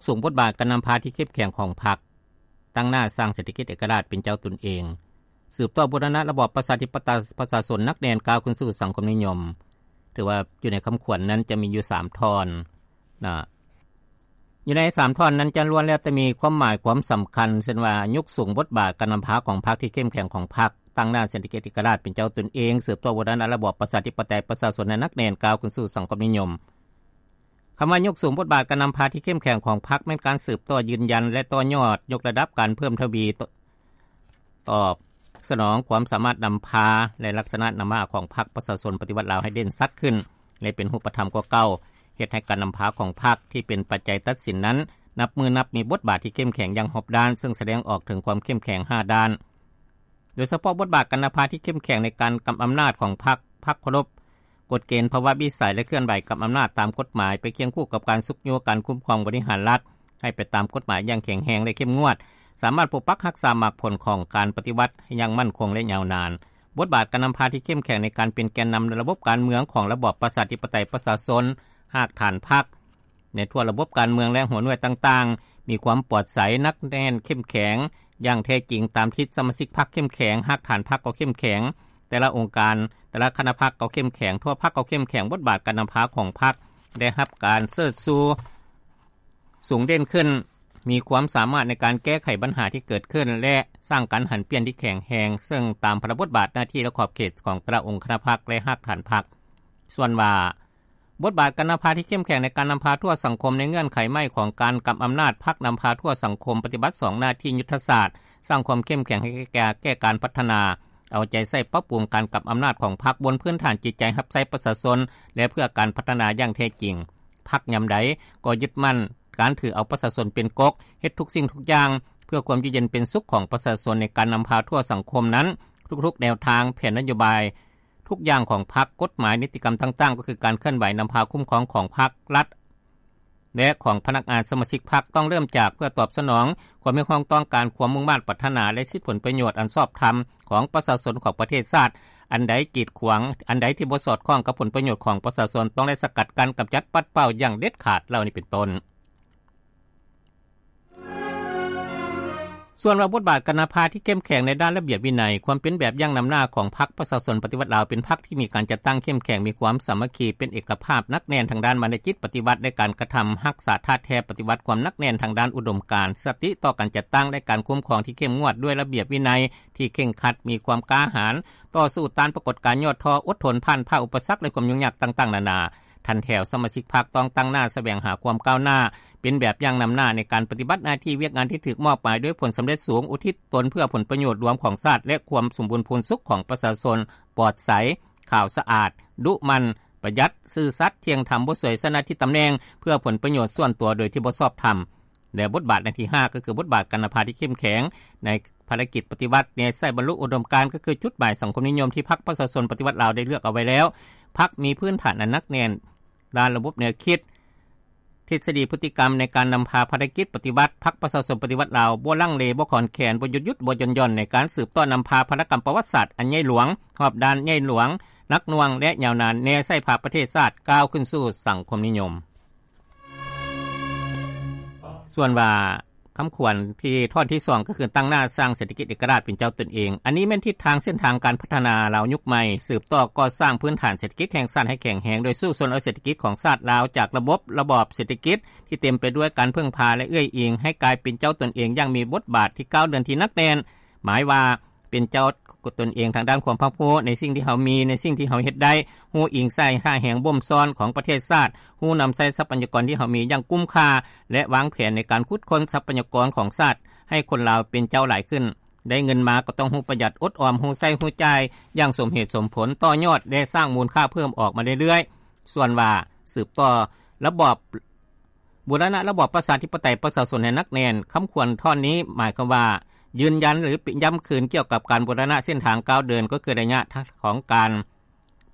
ສູງບົດບາດການນຳພາທີ່ເຂັ້ມແຂງຂອງພັກ, ຕັ້ງໜ້າສ້າງເສດຖະກິດເອກະລາດເປັນເຈົ້າຕົນເອງ, ສືບຕໍ່ບູລະນະລະບອບປະຊາທິປະໄຕປະຊາຊົນໜັກແໜ້ນ ກ້າວຂຶ້ນສູ່ສັງຄົມນິຍົມ. ຖືວ່າຢູ່ໃນຄຳຂວັນນັ້ນຈະມີຢູ່ສາມທ່ອນນະ. ຢູ່ໃນສາມທ່ອນນັ້ນຈະລ້ວນແລ້ວແຕ່ມີຄວາມໝາຍຄວາມສຳຄັນ, ເຊັ່ນວ່າ ຍົກສູງບົດບາດການນຳພາຂອງພັກທີ່ເຂັ້ມແຂງຂອງພັກ, ຕັ້ງໜ້າເສດຖະກິດເອກະລາດເປັນເຈົ້າຕົນເອງ, ສືບຕໍ່ບູລະນະລະບອບປະຊາທິປະໄຕປະຊາຊົນໃຫ້ໜັກແໜ້ນ ກ້າວຂຶ້ນສູ່ສັງຄົມນິຍົມ. ຄຳວ່າຍົກສູງບົດບາດການນຳພາທີ່ເຂັ້ມແຂງຂອງພັກ ແມ່ນການສືບຕໍ່ຢືນຢັນ ແລະ ຕໍ່ຍອດຍົກລະດັບການເພີ່ມທະວີ ຕ- ຕອບສະໜອງຄວາມສາມາດນຳພາ ແລະ ລັກສະນະນຳພາຂອງພັກປະຊາຊົນປະຕິວັດລາວໃຫ້ເດັ່ນຊັດຂຶ້ນ ແລະ ເປັນຮູບປະທຳກວ່າເກົ່າ, ເຮັດໃຫ້ການນຳພາຂອງພັກທີ່ເປັນປັດໄຈຕັດສິນນັ້ນ ນັບມື້ນັບມີບົດບາດທີ່ເຂັ້ມແຂງຢ່າງຮອບດ້ານ, ເຊິ່ງສະແດງອອກເຖິງຄວາມເຂັ້ມແຂງຫ້າດ້ານ. ໂດຍສະເພາະບົດບາດການນຳພາທີ່ເຂັ້ມແຂງໃນການກຳອຳນາດຂອງພັກ, ພັກເຄົາລົບກົດເກນພາວະວິໄສ ແລະ ເຄື່ອນໄຫວກຳອຳນາດຕາມກົດໝາຍ ໄປຄຽງຄູ່ກັບການຊຸກຍູ້ການຄຸ້ມຄອງບໍລິຫານລັດໃຫ້ໄປຕາມກົດໝາຍຢ່າງແຂງແຮງ ແລະ ເຂັ້ມງວດ, ສາມາດປົກປັກຮັກສາໝາກຜົນຂອງການປະຕິວັດໃຫ້ຢ່າງໝັ້ນຄົງ ແລະ ຍາວນານ. ບົດບາດການນຳພາທີ່ເຂັ້ມແຂງໃນການເປັນແກນນຳລະບົບການເມືອງຂອງລະບອບປະຊາທິປະໄຕປະຊາຊົນ, ຮາກຖານພັກ ໃນທົ່ວລະບົບການເມືອງ ແລະ ຫົວໜ່ວຍຕ່າງໆ ມີຄວາມປອດໃສ, ໜັກແໜ້ນ, ເຂັ້ມແຂງຢ່າງແທ້ຈິງ ຕາມທີ່ສະມາຊິກພັກເຂັ້ມແຂງ, ຮາກຖານພັກກໍເຂັ້ມແຂງ, ແຕ່ລະອົງການ, ແຕ່ລະຄະນະພັກກໍເຂັ້ມແຂງ, ທົ່ວພັກກໍເຂັ້ມແຂງ, ບົດບາດການນຳພາຂອງພັກໄດ້ຮັບການເຊີດຊູສູງເດັ່ນຂຶ້ນ, ມີຄວາມສາມາດໃນການແກ້ໄຂບັນຫາທີ່ເກີດຂຶ້ນ ແລະ ສ້າງການຫັນປ່ຽນທີ່ແຂງແຮງ, ເຊິ່ງຕາມພາລະບົດບາດໜ້າທີ່ ແລະ ຂອບເຂດຂອງແຕ່ລະອົງຄະນະພັກ ແລະ ຮາກຖານພັກ. ສ່ວນວ່າ ບົດບາດການນຳພາທີ່ເຂັ້ມແຂງໃນການນຳພາທົ່ວສັງຄົມ ໃນເງື່ອນໄຂໃໝ່ຂອງການກຳອຳນາດພັກນຳພາທົ່ວສັງຄົມ ປະຕິບັດສອງໜ້າທີ່ຍຸດທະສາດ, ສ້າງຄວາມເຂັ້ມແຂງໃຫ້ແກ່ ແກ່ການພັດທະນາ, ເອົາໃຈໃສ່ປັບປຸງການກຳອຳນາດຂອງພັກບົນພື້ນຖານຈິດໃຈຮັບໃຊ້ປະຊາຊົນ ແລະ ເພື່ອການພັດທະນາຢ່າງແທ້ຈິງ. ພັກຍາມໃດກໍຍຶດໝັ້ນການຖືເອົາປະຊາຊົນເປັນກົກ, ເຮັດທຸກສິ່ງທຸກຢ່າງເພື່ອຄວາມຢູ່ເຢັນເປັນສຸກຂອງປະຊາຊົນ. ໃນການນຳພາທົ່ວສັງຄົມນັ້ນ, ທຸກໆແນວທາງ, ແຜນນະໂຍບາຍ, ທຸກຢ່າງຂອງພັກ, ກົດໝາຍ, ນິຕິກຳຕ່າງໆ ກໍຄືການເຄື່ອນໄຫວນຳພາຄຸ້ມຄອງຂອງພັກ, ລັດ ແລະ ຂອງພະນັກງານສະມາຊິກພັກ ຕ້ອງເລີ່ມຈາກເພື່ອຕອບສະໜອງຄວາມຮຽກຮ້ອງຕ້ອງການ, ຄວາມມຸ່ງມາດປາດຖະໜາ ແລະ ສິດຜົນປະໂຫຍດອັນຊອບທຳຂອງປະຊາຊົນຂອງປະເທດຊາດ. ອັນໃດກີດຂວາງ, ອັນໃດທີ່ບໍ່ສອດຄ່ອງກັບຜົນປະໂຫຍດຂອງປະຊາຊົນ ຕ້ອງໄດ້ສະກັດກັ້ນ, ກຳຈັດ, ປັດເປົ່າຢ່າງເດັດຂາດ ເຫຼົ່ານີ້ເປັນຕົ້ນ. ສ່ວນວ່າບົດບາດການນຳພາທີ່ເຂັ້ມແຂງໃນດ້ານລະບຽບວິໄນ, ຄວາມເປັນແບບຢ່າງນຳໜ້າຂອງພັກປະຊາຊົນປະຕິວັດລາວ ເປັນພັກທີ່ມີການຈັດຕັ້ງເຂັ້ມແຂງ, ມີຄວາມສາມັກຄີ, ເປັນເອກະພາບ, ໜັກແໜ້ນທາງດ້ານມານະຈິດປະຕິວັດ ແລະ ການກະທຳຮັກສາທາດແທ້ປະຕິວັດ, ຄວາມໜັກແໜ້ນທາງດ້ານອຸດົມການ, ສະຕິຕໍ່ການຈັດຕັ້ງ ແລະ ການຄຸ້ມຄອງທີ່ເຂັ້ມງວດ, ດ້ວຍລະບຽບວິໄນທີ່ເຄັ່ງຄັດ, ມີຄວາມກ້າຫານ, ຕໍ່ສູ້ຕ້ານປາກົດການຫຍໍ້ທໍ້, ອົດທົນຜ່ານຜ່າອຸປະສັກ ແລະ ຄວາມຫຍຸ້ງຍາກຕ່າງໆນານາ. ຖັນແຖວສະມາຊິກພັກຕ້ອງຕັ້ງໜ້າສະແຫວງຫາຄວາມກ້າວໜ້າ, ເປັນແບບຢ່າງນຳໜ້າໃນການປະຕິບັດໜ້າທີ່ວຽກງານທີ່ຖືກມອບໝາຍດ້ວຍຜົນສຳເລັດສູງ, ອຸທິດຕົນເພື່ອຜົນປະໂຫຍດລວມຂອງຊາດ ແລະ ຄວາມສົມບູນພູນສຸກຂອງປະຊາຊົນ, ປອດໃສ, ຂາວສະອາດ, ດຸໝັ່ນ, ປະຢັດ, ຊື່ສັດ, ທ່ຽງທຳ, ບໍ່ສວຍສະໜ້າທີ່ຕຳແໜ່ງເພື່ອຜົນປະໂຫຍດສ່ວນຕົວໂດຍທີ່ບໍ່ຊອບທຳ. ແລະ ບົດບາດອັນທີຫ້າ ກໍຄືບົດບາດການນຳພາທີ່ເຂັ້ມແຂງໃນພາລະກິດປະຕິວັດ, ແນໃສ່ບັນລຸອຸດົມການ ກໍຄືຈຸດໝາຍສັງຄົມນິຍົມທີ່ພັກປະຊາຊົນປະຕິວັດລາວໄດ້ເລືອກເອົາໄວ້ແລ້ວ. ພັກມີພື້ນຖານອັນໜັກແໜ້ນດ້ານລະບົບແນວຄິດ, ທິດສະດີ, ພຶດຕິກຳໃນການນຳພາພາລະກິດປະຕິວັດ. ພັກປະຊາຊົນປະຕິວັດລາວບໍ່ລັງເລ, ບໍ່ຂອນແຂນ, ບໍ່ຢຸດຢຸດ, ບໍ່ຢ່ອນຢ່ອນໃນການສືບຕໍ່ນຳພາພາລະກຳປະຫວັດສາດອັນໃຫຍ່ຫຼວງ, ຮອບດ້ານ, ໃຫຍ່ຫຼວງ, ໜັກໜ່ວງ ແລະ ຍາວນານ, ແນໃສ່ພາປະເທດຊາດກ້າວຂຶ້ນສູ່ສັງຄົມນິຍົມ. ສ່ວນວ່າຄຳຂວັນທີ່ທ່ອນທີສອງ ກໍຄືຕັ້ງໜ້າສ້າງເສດຖະກິດເອກະລາດເປັນເຈົ້າຕົນເອງ. ອັນນີ້ແມ່ນທິດທາງເສັ້ນທາງການພັດທະນາລາວຍຸກໃໝ່, ສືບຕໍ່ກໍ່ສ້າງພື້ນຖານເສດຖະກິດແຫ່ງຊາດໃຫ້ແຂງແຮງ ໂດຍສູ້ຊົນເອົາເສດຖະກິດຂອງຊາດລາວຈາກລະບົບ, ລະບອບເສດຖະກິດທີ່ເຕັມໄປດ້ວຍການເພິ່ງພາ ແລະ ເອື້ອຍອີງ ໃຫ້ກາຍເປັນເຈົ້າຕົນເອງຢ່າງມີບົດບາດທີ່ກ້າວເດີນທີ່ໜັກແໜ້ນ, ໝາຍວ່າ ເປັນເຈົ້າຕົນເອງທາງດ້ານຄວາມຮັບຮູ້ໃນສິ່ງທີ່ເຮົາມີ, ໃນສິ່ງທີ່ເຮົາເຮັດໄດ້, ຮູ້ອີງໃສ່ທ່າແຮງບົ່ມຊ້ອນຂອງປະເທດຊາດ, ຮູ້ນຳໃຊ້ຊັບພະຍາກອນທີ່ເຮົາມີຢ່າງກຸ້ມຄ່າ ແລະ ວາງແຜນໃນການຂຸດຄົ້ນຊັບພະຍາກອນຂອງຊາດໃຫ້ຄົນລາວເປັນເຈົ້າຫຼາຍຂຶ້ນ. ໄດ້ເງິນມາກໍຕ້ອງຮູ້ປະຢັດອົດອອມ, ຮູ້ໃຊ້ຮູ້ຈ່າຍຢ່າງສົມເຫດສົມຜົນ, ຕໍ່ຍອດ ແລະ ສ້າງມູນຄ່າເພີ່ມອອກມາເລື້ອຍໆ. ສ່ວນວ່າສືບຕໍ່ລະບອບ ບູລະນະລະບອບປະຊາທິປະໄຕປະຊາຊົນໃຫ້ໜັກແໜ້ນ. ຄຳຂວັນທ່ອນນີ້ໝາຍຄວາມວ່າ ຢືນຢັນ ຫຼື ຢ້ຳຄືນກ່ຽວກັບການບູລະນະເສັ້ນທາງກ້າວເດີນ, ກໍຄືໄລຍະຂອງການ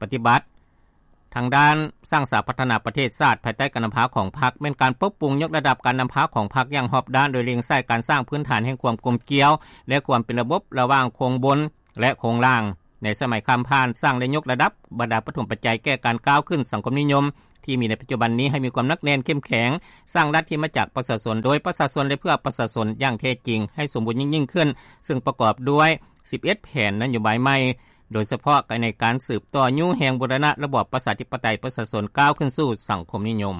ປະຕິບັດທາງດ້ານສ້າງສາພັດທະນາປະເທດຊາດ ພາຍໃຕ້ການນຳພາຂອງພັກ, ແມ່ນການປັບປຸງຍົກລະດັບການນຳພາຂອງພັກຢ່າງຮອບດ້ານ, ໂດຍເລັ່ງໃສ່ການສ້າງພື້ນຖານແຫ່ງຄວາມກົມກ່ຽວ ແລະ ຄວາມເປັນລະບົບລະຫວ່າງໂຄງບົນ ແລະ ໂຄງລ່າງ. ໃນສະໄໝຂ້າມຜ່ານ, ສ້າງ ແລະ ຍົກລະດັບບັນດາປະຖົມປັດໄຈແກ່ການກ້າວຂຶ້ນສັງຄົມນິຍົມ ທີ່ມີໃນປັດຈຸບັນນີ້ໃຫ້ມີຄວາມໜັກແໜ້ນເຂັ້ມແຂງ, ສ້າງລັດທີ່ມາຈາກປະຊາຊົນ, ໂດຍປະຊາຊົນ ແລະ ເພື່ອປະຊາຊົນຢ່າງແທ້ຈິງ ໃຫ້ສົມບູນຍິ່ງໆຂຶ້ນ, ເຊິ່ງປະກອບດ້ວຍສິບເອັດແຜນນະໂຍບາຍໃໝ່, ໂດຍສະເພາະໃນການສືບຕໍ່ຍູ້ແຮງບູລະນະລະບອບປະຊາທິປະໄຕປະຊາຊົນ ກ້າວຂຶ້ນສູ່ສັງຄົມນິຍົມ.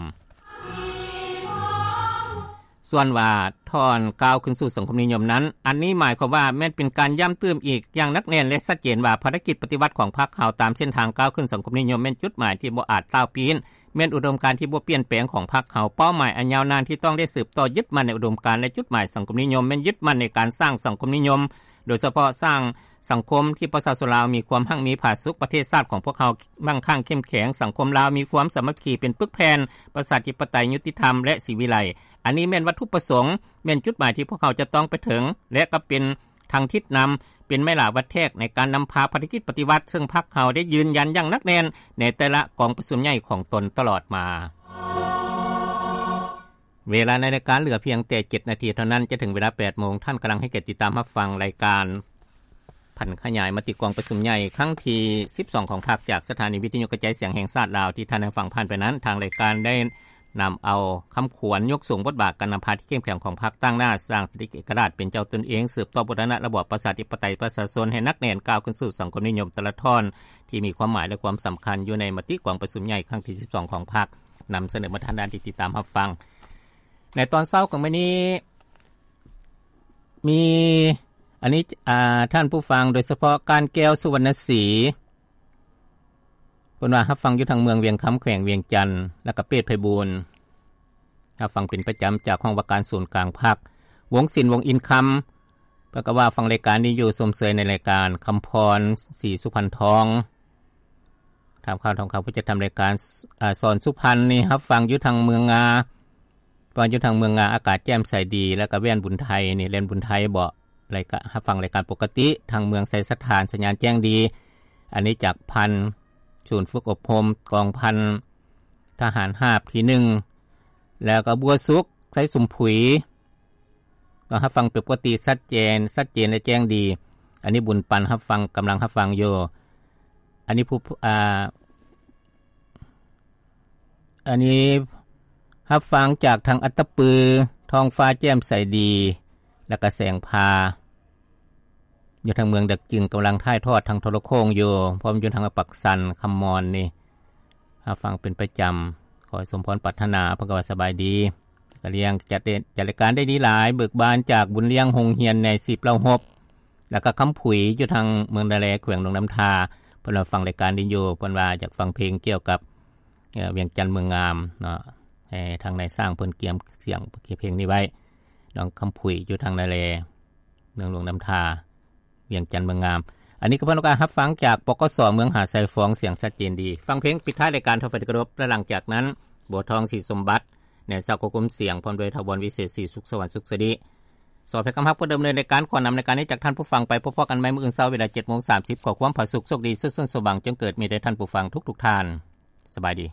ສ່ວນວ່າທ່ອນກ້າວຂຶ້ນສູ່ສັງຄົມນິຍົມນັ້ນ, ອັນນີ້ໝາຍຄວາມວ່າແມ່ນເປັນການຢ້ຳຕື່ມອີກຢ່າງໜັກແໜ້ນ ແລະ ຊັດເຈນວ່າ ພາລະກິດປະຕິວັດຂອງພັກເຮົາຕາມເສັ້ນທາງກ້າວຂຶ້ນສັງຄົມນິຍົມ ແມ່ນຈຸດໝາຍທີ່ບໍ່ອາດຕ່າວປີ້ນ, ແມ່ນອຸດົມການທີ່ບໍ່ປ່ຽນແປງຂອງພັກເຮົາ, ເປົ້າໝາຍອັນຍາວນານທີ່ຕ້ອງໄດ້ສືບຕໍ່ຍຶດໝັ້ນໃນອຸດົມການ ແລະ ຈຸດໝາຍສັງຄົມນິຍົມ ແມ່ນຍຶດໝັ້ນໃນການສ້າງສັງຄົມນິຍົມ, ໂດຍສະເພາະສ້າງສັງຄົມທີ່ປະຊາຊົນລາວມີຄວາມຮັ່ງມີຜາສຸກ, ປະເທດຊາດຂອງພວກເຮົາໝັ້ງຄັ່ງເຂັ້ມແຂງ, ສັງຄົມລາວມີຄວາມສາມັກຄີເປັນປຶກແຜ່ນ, ປະຊາທິປະໄຕຍຸຕິທຳ ແລະ ສີວິໄລ. ອັນນີ້ແມ່ນວັດຖຸປະສົງ, ແມ່ນຈຸດໝາຍທີ່ພວກເຮົາຈະຕ້ອງໄປເຖິງ ແລະ ກໍເປັນທາງທິດນຳ, ເປັນໄມ້ຫຼາວັດແທກໃນການນຳພາພາລະກິດປະຕິວັດ, ເຊິ່ງພັກເຮົາໄດ້ຢືນຢັນຢ່າງໜັກແໜ້ນໃນແຕ່ລະກອງປະຊຸມໃຫຍ່ຂອງຕົນຕະຫຼອດມາ. ເວລາໃນລາຍການເຫຼືອພຽງແຕ່ເຈັດນາທີເທົ່ານັ້ນ ຈະເຖິງເວລາແປດໂມງ. ທ່ານກຳລັງໃຫ້ກຽດຕິດຕາມຮັບຟັງລາຍການຜັນຂະຫຍາຍມະຕິກອງປະຊຸມໃຫຍ່ຄັ້ງທີສິບສອງຂອງພັກ ຈາກສະຖານີວິທະຍຸກະຈາຍສຽງແຫ່ງຊາດລາວ. ທີ່ທ່ານໄດ້ຟັງຜ່ານໄປນັ້ນ, ທາງລາຍການໄດ້ນຳເອົາຄຳຂວັນຍົກສູງບົດບາດການນຳພາທີ່ເຂັ້ມແຂງຂອງພັກ, ຕັ້ງໜ້າສ້າງສະຖິດເອກະລາດເປັນເຈົ້າຕົນເອງ, ສືບຕໍ່ບູລະນະລະບອບປະຊາທິປະໄຕປະຊາຊົນໃຫ້ໜັກແໜ້ນ, ກ້າວຂຶ້ນສູ່ສັງຄົມນິຍົມ, ແຕ່ລະທ່ອນທີ່ມີຄວາມໝາຍ ແລະ ຄວາມສຳຄັນຢູ່ໃນມະຕິກອງປະຊຸມໃຫຍ່ຄັ້ງທີສິບສອງຂອງພັກ. ນຳສະເໜີມາທ່ານໄດ້ຕິດຕາມຮັບຟັງ. ໃນຕອນເຊົ້າຂອງມື້ນີ້ ມີ ອັນນີ້ ອາ ທ່ານຜູ້ຟັງ, ໂດຍສະເພາະການແກ້ວ ສຸວັນນະສີ ເພິ່ນວ່າຮັບຟັງຢູ່ທາງເມືອງວຽງຄຳ ແຂວງວຽງຈັນ ແລ້ວກໍເປດໄພບູນ ຮັບຟັງເປັນປະຈຳຈາກຫ້ອງວ່າການສູນກາງພັກ. ວົງສິນ ວົງອິນຄຳ ເພິ່ນກໍວ່າຟັງລາຍການນີ້ຢູ່ ຊົມເຊີຍໃນລາຍການ. ຄຳພອນ ສີສຸພັນທອງ ຖາມຂ່າວທອງຄຳ ຜູ້ຈັດທຳລາຍການ ອາ ສອນສຸພັນນີ້ ຮັບຟັງຢູ່ທາງເມືອງງາ ວ່າຢູ່ທາງເມືອງງາ ອາກາດແຈ່ມໃສດີ. ແລ້ວກໍແວ່ນບຸນໄທນີ້ ແວ່ນບຸນໄທເບາະ ລາຍການ ຮັບຟັງລາຍການປົກກະຕິ. ທາງເມືອງໄຊສະຖານ ສັນຍານແຈ້ງດີ. ອັນນີ້ຈາກພັນ ສູນຝຶກອົບຮົມກອງພັນທະຫານຮາບທີໜຶ່ງ. ແລ້ວກໍບົວສຸກ ໄຊສົມຜຸຍ ກໍຮັບຟັງເປັນປົກກະຕິ ຊັດເຈນ ຊັດເຈນ ແລະ ແຈ້ງດີ. ອັນນີ້ບຸນປັນ ຮັບຟັງ ກຳລັງຮັບຟັງຢູ່. ອັນນີ້ຜູ້ ອາ ອັນນີ້ຮັບຟັງຈາກທາງອັດຕະປື ທ້ອງຟ້າແຈ່ມໃສດີ ແລ້ວກະແສງພາ ຢູ່ທາງເມືອງດາກຈຶງ ກຳລັງຖ່າຍທອດທາງໂທລະໂຄ່ງຢູ່. ພ້ອມຢູ່ທາງປາກຊັນ ຄຳມອນນີ້ ຮັບຟັງເປັນປະຈຳ. ຂໍໃຫ້ສົມພອນປາດຖະໜາ. ເພິ່ນກໍວ່າສະບາຍດີ ກະລຽງ ຈັດ ຈັດລາຍການໄດ້ດີຫຼາຍ. ເບີກບານຈາກບຸນລ້ຽງ ໂຮງຮຽນໃນສິບເລົ່າຮົບ ແລ້ວກໍຄຳຜຸຍ ຢູ່ທາງເມືອງນາແລ ແຂວງຫຼວງນ້ຳທາ. ເພິ່ນວ່າຟັງລາຍການດີຢູ່. ເພິ່ນວ່າຢາກຟັງເພງກ່ຽວກັບ ເອີ ວຽງຈັນເມືອງງາມເນາະ. ໃຫ້ທາງນາຍຊ່າງເພິ່ນກຽມສຽງເພງນີ້ໄວ້. ນ້ອງຄຳຜຸຍ ຢູ່ທາງນາແລ ເມືອງຫຼວງນ້ຳທາ ວຽງຈັນເມືອງງາມ. ອັນນີ້ກໍເພິ່ນກະຮັບຟັງຈາກ ປກສ ເມືອງຫາດຊາຍຟອງ ສຽງຊັດເຈນດີ. ຟັງເພງປິດທ້າຍລາຍການ ທ່ານຜູ້ເປັນທີ່ເຄົາລົບ ແລະ ຫຼັງຈາກນັ້ນ ບົວທອງ ສີສົມບັດ ແນນຊາວຄວບຄຸມສຽງ ພ້ອມດ້ວຍ ຖາວອນ ວິເສດ ສີສຸກສະຫວັນ ສຸກສະດິ ສອບໃຫ້ຄຳຮັບຜູ້ດຳເນີນລາຍການ ຂໍນຳລາຍການນີ້ຈາກທ່ານຜູ້ຟັງໄປ. ພົບພໍ້ກັນໃໝ່ມື້ອື່ນເຊົ້າ ເວລາເຈັດໂມງສາມສິບ. ຂໍຄວາມຜາສຸກ ໂຊກດີ ສຸກຊົນ ສົມຫວັງ ຈົ່ງເກີດມີແດ່ທ່ານຜູ້ຟັງທຸກໆທ່ານ. ສະບາຍດີ.